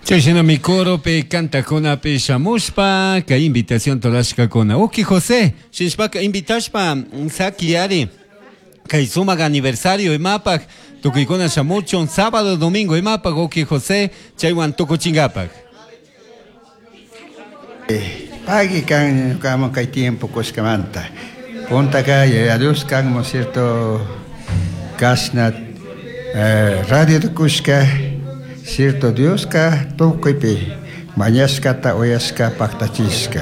Chashnami coropi cantaccunapi shamushpa kay invitación rurashcacuna. Uki José, shinashpaka invitashpa saquiyari kay sumak aniversario imapak tukuykuna shamuchun sábado domingo imapak uki José chaywan tukuchinkapak. Pagui kan ñukaman kay tiempo kushkamanta. Puntaka Yaya Dios kanman cierto kashna radio kushka cierto Dioska tukuypi mañashkata uyashka paktachishka.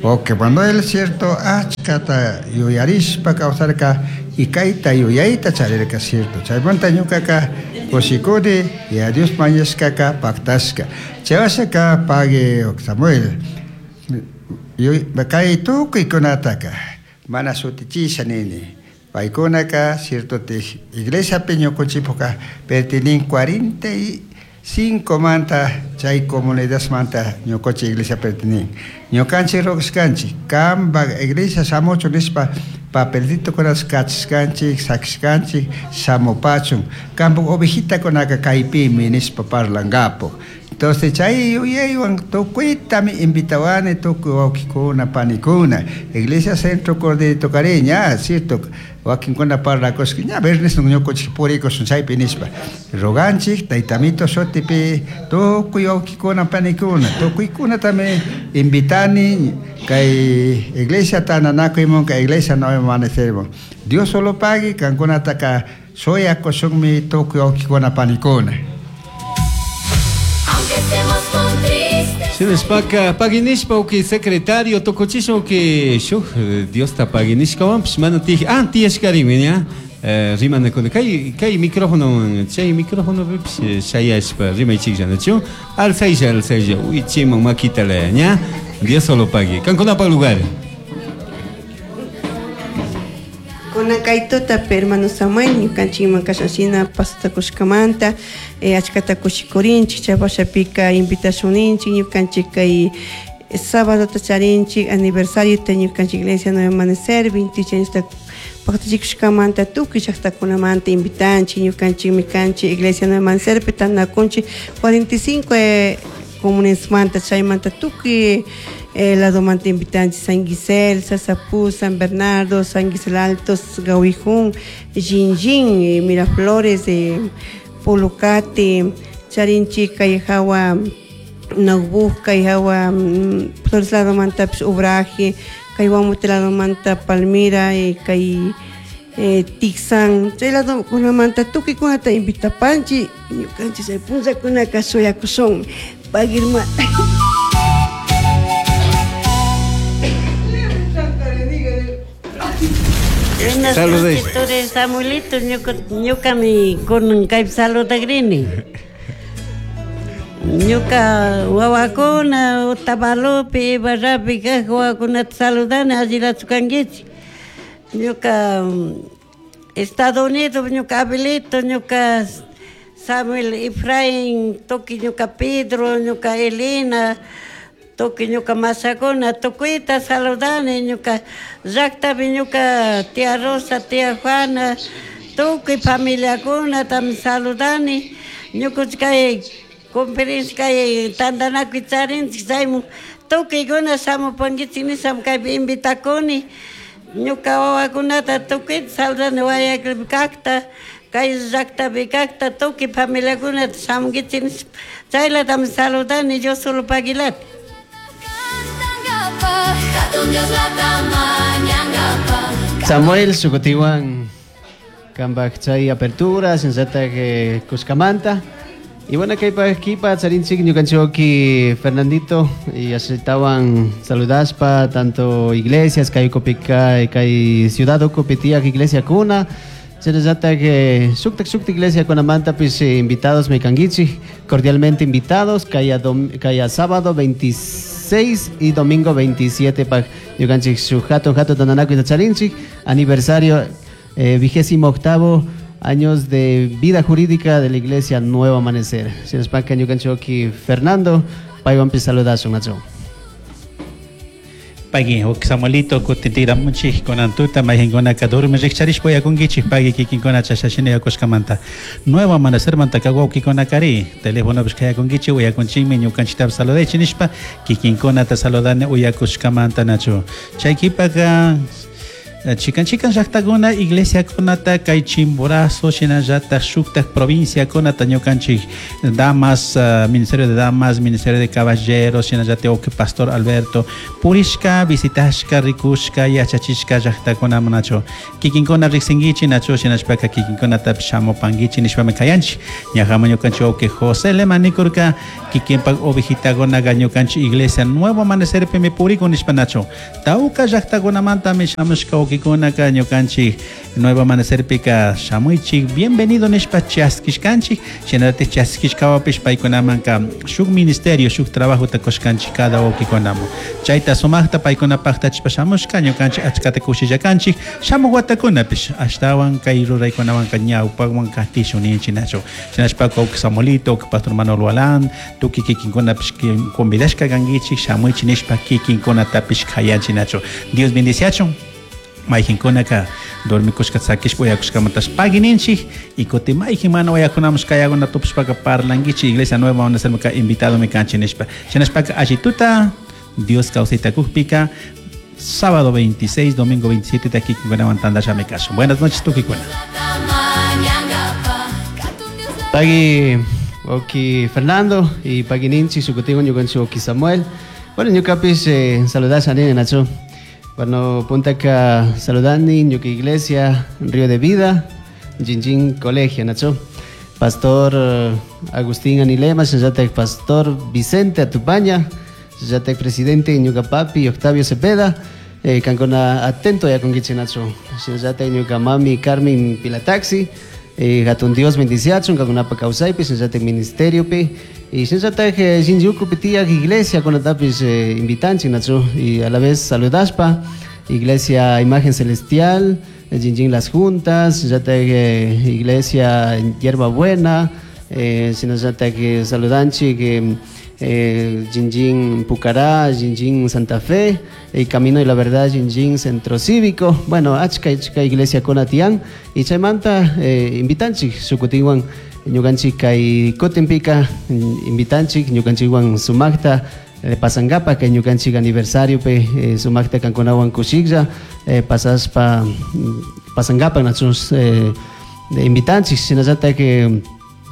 Wawki Manuel cierto achkata yuyarishpa kawsarka y kayta yuyayta charirka cierto. Chaymanta ñukaka kushikuni Yaya Dios mañashkaka paktashka. Chay washaka pagui Samuel kay tukuykunataka mana shutichisha nini. Paykunaka cierto iglesiapi ñukunchikpuka pertinin 45 manta chay comunidadmanta ñukunchik iglesia pertinin. Ñukanchik rurashkanchik kanpak iglesia shamuchun nishpa papelitokunata kachishkanchik sakishkanchik shamupachun kanpak ovejitakunaka kaypimi nishpa parlankapak. Entonces chay yuyaywan tukuytami invitawani tukuy wawkikuna panikuna iglesia Centro Corderito Cariña, cierto wakinkuna parlakushka ña viernes ñukunchik purikushun chaypi nishpa roganchik taytamito shutipi tukuy wawkikuna panikuna tukuykunatami invitani kay iglesia tantanakuymun kay iglesia Nuevo Amanecermun. Dios solo pagui kankunataka shuyakushunmi tukuy wawkikuna panikuna. Shinashpaka paginishpa uki secretario tukuchisha uki shuk Diosta paginishkawanpish mana tij ah tiyashkarimi ña rimanakuna kay kay micrófono chay micrófonopipish shayashpa rimaychikllanachu alzaylla alzaylla wichiman makitala ña Dios solo pagui kankunapak lugar. Kunan kay tutapi hermano Samuel ñukanchikman kashashina pasata kushkamanta achkata kushikurinchik chay washapika invitashunninchik ñukanchik kay sábadota charinchik aniversariota ñukanchik iglesia Nuevo Amanecer 28 añosta paktachikushkamanta tukuy llaktakunamanta invitanchik ñukanchikmi kanchik iglesia Nuevo Amanecerpi tantanakunchik 45 comunesmanta chaymanta tukuy ladomanta invitanchik San Gisel, Sasapú, San Bernardo, San Gisel Altos, Gawijún, Jinjin, Miraflores, Pulucate, charinchik kay hawa Naubuj, kay hawa Flores ladomantapish Obraje, kay Guamute ladomanta Palmira, kay Tixán, chay ladokunamanta tukuykunata invitapanchik ñukanchik chay punllakunaka shuyakushun pagui hermano. Buenas Saludos. noches, Turi Samuelito, ñukami kunan kaypi saludakrini. Ñuka wawakuna Otavalopi, Ibarrapi kaq wawakunata saludani, allilachu kankichik. Ñuka Estados Unidos, ñuka Abelito, ñuka Samuel Efraín, tukuy ñuka Pedro, ñuka Elena, tukuy ñuka masakuna, tukuyta saludani, ñuka llaktapi ñuka tía Rosa, tía Juana, tukuy familiakunatami saludani. Ñukunchik kay conferencia kay tantanakuy charinchik chaymun tukuykuna shamupankichik nisham kaypi invitakuni. Ñuka wawakunata tukuyta saludani Guayaquilpi kakta, kay llaktapi kakta, tukuy familiakunata shamunkichik nishpa chaylatami saludani. Dios solo paguilata. Samuel Sucutiwan kanpak chay apertura shinllatak kushkamanta. Y bueno, kaypak kipa charinchik ñukanchik Fernandito y ashitawan saludashpa tanto iglesias kay ukupika kay ciudad ukupi tiyak iglesia kuna shinallatak shuktak shuktak iglesia kunamanta pues invitados mi kankichik cordialmente invitados kaya kaya sábado 26 y domingo 27 pak ñukanchik shuk hatun hatun tantanakuyta charinchik aniversario vigésimo octavo años de vida jurídica de la Iglesia Nuevo Amanecer. Shinashpaka ñukanchik Fernando, paywanpi saludashun, Nacho. Pagui huk Samuelito kutintiramunchik kunan tuta mayqinkunaka durmi rikcharishpa uyakunkichik pagui kikinkuna chashashina uyakushkamanta. Nuevo Amanecermantaka wawkikunakari telefonopish kayakunkichik uyakunchikmi ñukanchiktapish saludaychik nishpa kikinkunata saludani uyakushkamanta nachu. Chay kipaka chikan chikan llaqtakuna iglesiakunata kay Chimborazo shinallatak shuktak provinciakunata ñukanchik damas, Ministerio de Damas, Ministerio de Caballeros, shinallatak wawqi Pastor Alberto purishka, visitashka, rikushka, yachachishka llaqtakunaman nachu. Kikinkuna riqsinkichik nachu shinashpaka kikinkunatapish shamupankichik nishpami kayanchik. Ñajaman ñukanchik wawqi José Lema nikurka kikinpak ovejitakunaqa ñukanchik iglesia Nuevo Amanecerpimi purikun nishpa nachu. Tawka llaqtakunamantami shamushka wawqikunaka ñukanchik Nuevo Amanecerpika shamuychik bienvenido nishpa chaskishkanchik, shinallatik chaskishkawapish paykunamanka shuk ministerio, shuk trabajota kushkanchik cada wawqikunaman. Chayta sumaqta paykuna paqtachishpa shamushka ñukanchik achkata kushillakanchik shamuq watakunapish ashtawan kay ruraykunawanka ñawpaqwan katishun ninchik nachu. Shinashpaka wawqi Samuelito, wawqi Pastor Manuel Walán, tukuy kikinkunapish convidashka kankichik shamuychik nishpa kikinkunatapish kayanchik nachu. Dios bendiciachun. Mayqinkunaka dormikushka sakishpa uyakushkamantash pagui ninchik y kutin mayqin mana uyakunamush kayakuna tupashpaka parlankichik Iglesia Nueva Amanecermanka invitadomi kanchik nishpa. Shinashpaka allituta Dios kawsayta kukpika sábado 26, domingo 27 kikinkunawan tantashami kashun. Buenas noches tukikuna. Pagui wawqi Fernando y pagui ninchik shukutiwan ñukanchik wawqi Samuel. Bueno, ñukapish saludasha nini nachu. Bueno, puntaka saludani ñuka iglesia Río de Vida, Jinjin Colegio nachu. Pastor Agustín Anilema, shinallatak Pastor Vicente Atupaña, shinallatak presidente ñuka papi Octavio Cepeda, kankuna atento yakunkichik nachu. Shinallatak ñuka mami Carmen Pilataxi, hatun Dios bendiciachun kankunapa kawsaypi, shinallatak ministeriopi, y shinallatak Shinjukupi tiyak iglesia kunatapish invitanchik nachu, y a la vez saludashpa Iglesia Imagen Celestial, Jinjin Las Juntas, shinallatak Iglesia Hierba Buena, shinallatak saludanchik Jinjin Pucará, Jinjin Santa Fe, el Camino de la Verdad, Jinjin Centro Cívico, bueno, achka achka iglesia kunatian, y chaymanta invitanchik shukutiwan ñukanchik kay kutinpika invitanchik ñukanchikwan sumakta pasangapa kay ñukanchik aniversario pe sumakta kankunawan kushiklla pasaspa pasangapa nachus invitanchik shinallatak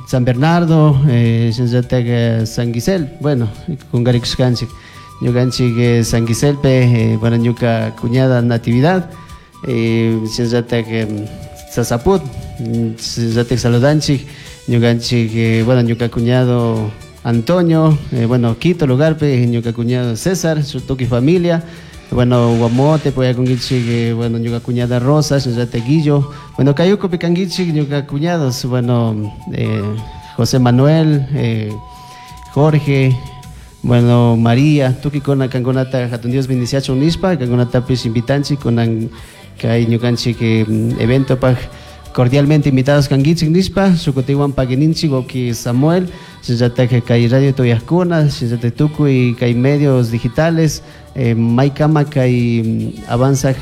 San Bernardo, shinallatak San Gisel, bueno, kungarikushkanchik ñukanchik San Giselpe, bueno, ñuka cuñada Natividad, shinallatak Sasaput, shinallatak saludanchik ñukanchik, bueno, ñuka cuñado Antonio, bueno, Quito lugarpe, ñuka cuñado César, su tuki familia, bueno, Guamote, poyakunkichik, bueno, ñuka cuñada Rosa, shinallatak Guillo, bueno, Cayuco pikankichik, ñuka cuñados, bueno, José Manuel, Jorge, bueno, María, tukikuna kankunata hatun Dios bendiciachun nishpa, kankunatapish invitanchik, kunan kay ñukanchik evento paj cordialmente invitados kankichik nishpa, shukutiwan paguininchik wawqi Samuel, shinallatak kay radio tuyajkuna, shinallatak tukuy kay medios digitales, maykama kay avanzaj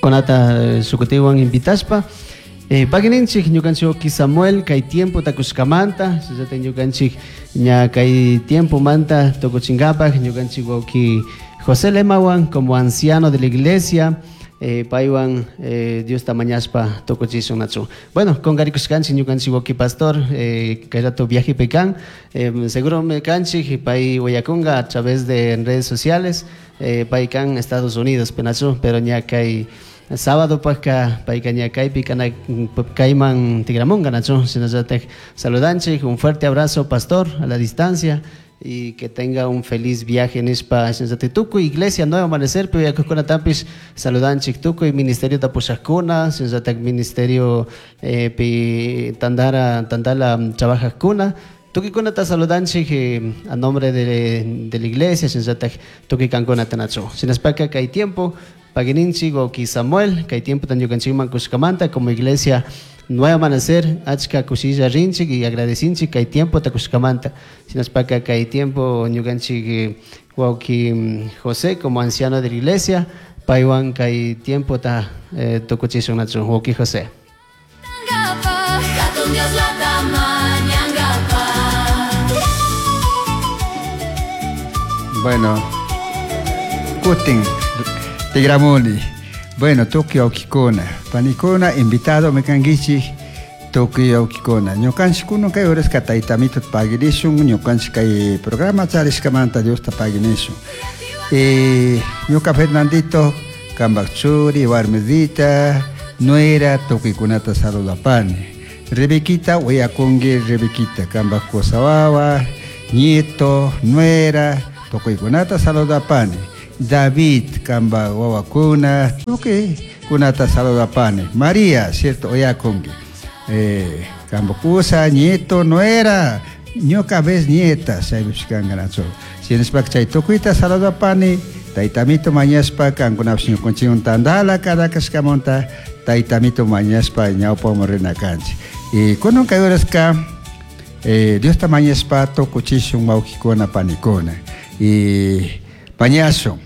kunata shukutiwan invitashpa. Paguininchik ñukanchik wawqi Samuel kay tiempo takushkamanta, shinallatak ñukanchik ña kay tiempo manta tukuchinkapak ñukanchik wawqi José Lemawan como anciano de la iglesia, paywan Dios tamañashpa tukuchishun nachu. Bueno, con garikushkanchik ñukanchik wawqi pastor, kay rato viaje pekan, seguro me kanchik pay uyakunga a través de redes sociales, pay kan Estados Unidos penachu, pero ña kay sábado pajka payka ña kaypi kana kayman tigramunga nachu. Shinallatak saludanchik, un fuerte abrazo pastor a la distancia y que tenga un feliz viaje nishpa shinallatak tukuy iglesia Nuevo Amanecer pero yakukunatapish saludanchik tukuy ministerio tapushajkuna shinallatak ministerio pi tandara tandala trabajajkuna tukuykunata saludanchik a nombre de la iglesia shinallatak tukuy kankunata nachu. Shinashpaka kay tiempo paguininchik wawqi Samuel kay tiempo tan ñukanchikman kushkamanta como iglesia Nuevo Amanecer achka kushilla rinchik y agradecinchik kay tiempo takushkamanta. Shinashpaka kay tiempo ñukanchik Wauki José como anciano de la iglesia, paywan kay tiempo ta tukuchishun nachu wauki José. Bueno, kutin tigramuni. Bueno, tukuy wawkikuna, panikuna, invitado mikankichik tukuy wawkikuna. Ñukanchik kunan kay horaska taytamito paginishun, ñukanchik kay programa charishkamanta Diosta paginishun. Ñuka Fernandito, kanpak churi, warmidita, nuera, tukuykunata saludapani. Rebequita, uyakunki Rebequita, kanpak kusawawa, nieto, nuera, tukuykunata saludapani. David, kanpak wawakuna, tukuykunata saludapani. María, cierto, uyakunki. Kanpak kusa, nieto, nuera, ñuka vez nieta, chaypish kankanachu. Shinashpaka chay tukuyta saludapani, taytamito mañashpa, kankunapish ñukanchikwan tandala Caracaskamanta, taytamito mañashpa ñawpaman rina kanchik. Y kunan kay horaska, Diosta mañashpa tukuchishun wawkikuna panikuna. Y mañashun.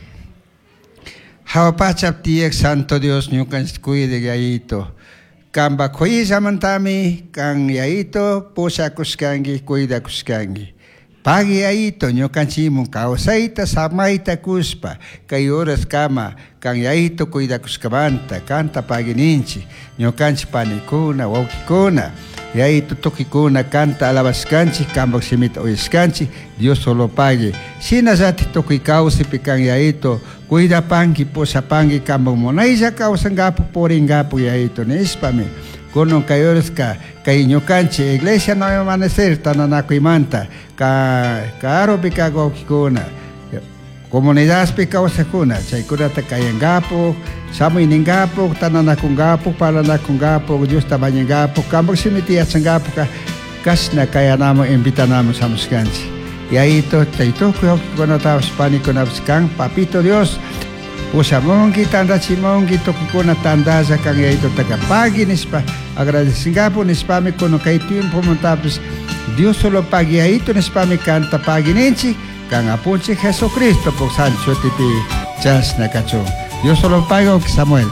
Hawa pachap tiyak Santo Dios ñukanchik cuide yayito. Kanpak kuyillamantami kan yayito pushakushkanki, cuidakushkanki. Pagui yayito ñukanchikmun kawsayta samayta kushpa kay horas kama kan yayito cuidakushkamanta kanta paguininchik ñukanchik panikuna wawkikuna yayito tukikuna kanta alabashkanchik kanpak shimita uyashkanchik Dios solo pagui shinallatik tukuy kawsaypi kan yayito cuidapanki pushapanki kanpak munaylla kawsankapak purinkapak yayito nishpami kunan kay horaska kay ñukanchik Iglesia Nuevo Amanecer tantanakuymanta karupi kak wawkikuna comunidadpi kawsakuna chaykunata kayankapak shamuyninkapak tantanakunkapak parlanakunkapak Diosta mañankapak kanpak shimita yachankapak kashna kayanaman invitanaman shamushkanchik yayito chay tukuy wawkikunatapish panikunapish kan papito Dios pushamunki tantachimunki tukuykuna tantalla kan yayitotaka pagui nishpa agradecinkapuk nishpami kunan kay tiempomantapish Dios solo pagui yayito nishpami kanta pagui ninchik kan apunchik Jesucristo puk santo shutipi chashna kachun. Dios solo pagui Samuel.